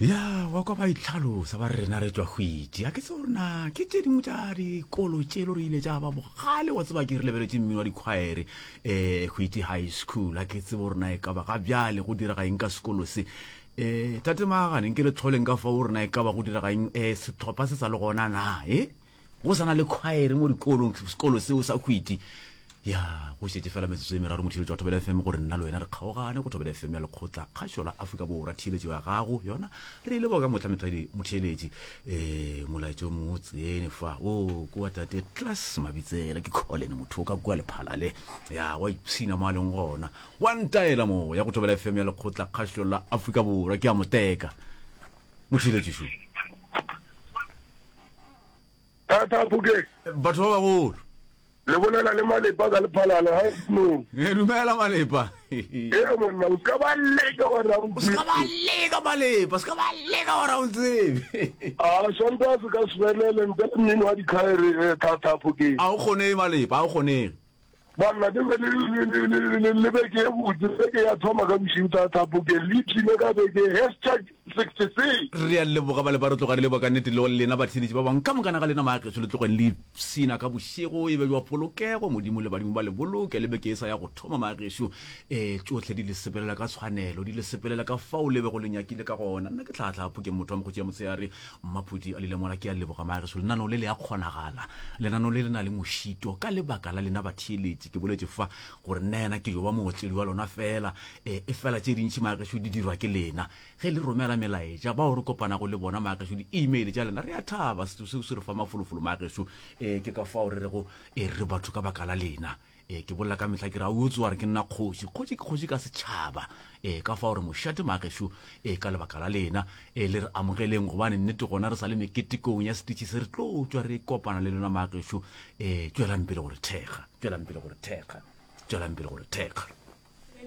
Ya, wa kwa ba itlhalosa ba re rena re tšwa Hwiti. A ke tsebe gore na ke tše dingwe tša dikolo tše le gore ile tša ba bogale wa tseba ke re lebeletše mmino wa dikhwaere um Hwiti High School. A ke tsebe gore na e ka ba ga bjale go direga eng ka sekolo se. Um tate Maagane nke le tlholeng ka fao gore na e ka ba go direga eng um sehlopha se sa le gona na e? Go sa na le khwaere mo dikolong, sekolo seo sa Hwiti. Ya, go šetše fela metsotso e meraro motheeletši wa Thobela FM gore nna le wena re kgaogane go Thobela FM ya Lekgotla Kgašo la Afrika Borwa. Theeletšo ya gago yona re e leboga ka mohla methwadi motheeletši. Eh, molaetša o mongwe o tsene fa. O, kua tate Klaas Mabitsela ke Colin motho o ka kua Lephalale. Ya, wa ipshina mo a leng gona. Wa ntaela mo ya go Thobela FM ya Lekgotla Kgašo la Afrika Borwa. Ke a mo teka. Motheeletši šo. Thata Phokeng. Batho ba bagolo. Le bolela le Malepa ka Lephalale ga no. E dumela Malepa. E monna o ska ba leka gore a O ska ba leka Malepa, o ska ba leka gore o ntsebe. A Sontaga se ka se felele ntle le mmino wa dikhaere eh, Thata Phokeng. A o kgonege Malepa, a o kgonege. Banna ke be le le beke e botse, beke ya thoma ka bošego Thata Phokeng, le ipshine ka beke hashtag 66. Re a leboga ba le ba re tloga re leboga ka nnete le lena batheeletši ba bangwe ka mokana ga lena maageso le tlogeng le ipshina ka bošego e be jwa polokego modimo le badimo ba le boloke le beke e sa ya go thoma maageso um tšohle di le sepelela ka tshwanelo di le sepelela ka fao le bego le nyakile ka gona nna ke tlhatlha phokeng motho wa mokgotsi ya motshehare Mmaphuti a Lilemola ke a leboga maageso lenaneo le le a kgonagala lenaneo le le na le mošito ka lebaka la lena batheeletši ke boletše fa gore nna yena ke yo ba mootledi wa lona fela e, e fela tše dintši maageso di dirwa ke lena ge le romela melaetša bao re kopanago le bona maageso di-email tša lena re a thaba seo se re fa mafolofolo maageso e, ke ka fao re rego e re batho ka baka la lena Ee, ke bolela ka mehla ke re, a o tsoa re ke nna kgoši. Kgoši ke kgoši ka setšhaba. Ee, ka fao re mošate magešo, ee, ka lebaka la lena. Ee, le re amogeleng gobane nnete gona re sa le meketekong ya setitšhi se re tlo tšwa re kopana le lena magešo. Ee, tšwelang pele go re thekga, tšwelang pele go re thekga, tšwelang pele go re thekga.